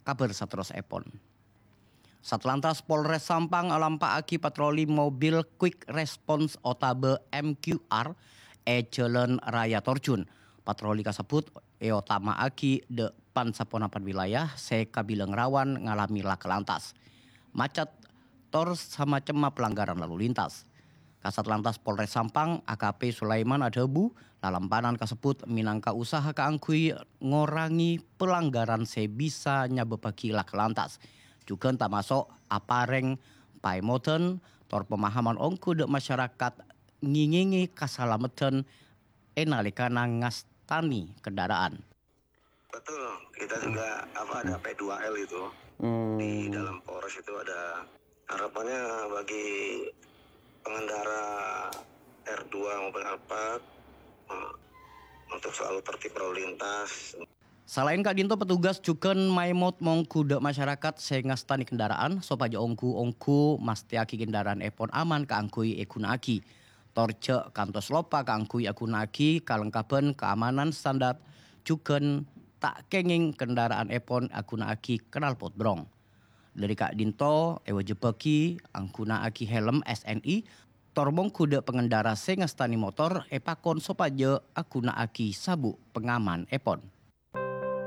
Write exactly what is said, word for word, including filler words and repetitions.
kabhâr saterrossèpon. Satlantas Polres Sampang alampa'aghi patroli mobil Quick Response otabâ M Q R è Jhâlân Raya Torjun. Patroli kasebbhut èotama'aghi dâ' pan-saponapan wilayah sè kabilang rawan ngalamè laka lantas, macet, tor samacemma pelanggaran lalu lintas. Kasat Lantas Polres Sampang, A K P Sulaiman adhâbu, lalampanan kasebbhut mènangka usaha kaangghuy ngorangè pelanggaran sè bisa nyabâbbhâghi laka lantas. Jhughân tamaso' aparèng paèmodhân tor pemahaman ongghu dâ' masyarakat ngèngèngè kasalameddhân è nalèkana ngastanè kendaraan. Betul, kita juga apa ada P dua L itu di dalam Polres itu ada harapannya bagi pengendara R dua maupun R empat eh, untuk selalu tertib berlalu lintas. Salaèn ka'dinto, petugas jhughân maèmot mongghu dâ' masyarakat sè ngastanè kendaraan sopajâ ongghu-ongghu mastèyaghi kendaraanèpon aman kaangghuy èghuna'aghi. Tor jhâ' kantos loppa kaangghuy aghuna'aghi kalengkabhân kaamanan standar jhughân ta' kèngèng kendaraanèpon aghuna'aghi knalpot brong. Dâri ka'dinto èwâjibhâghi aghuna'aghi helm S N I, tor mongghu dâ' pangendara sè ngastanè motor èpakon sopajâ aghuna'aghi sabuk pangamanèpon.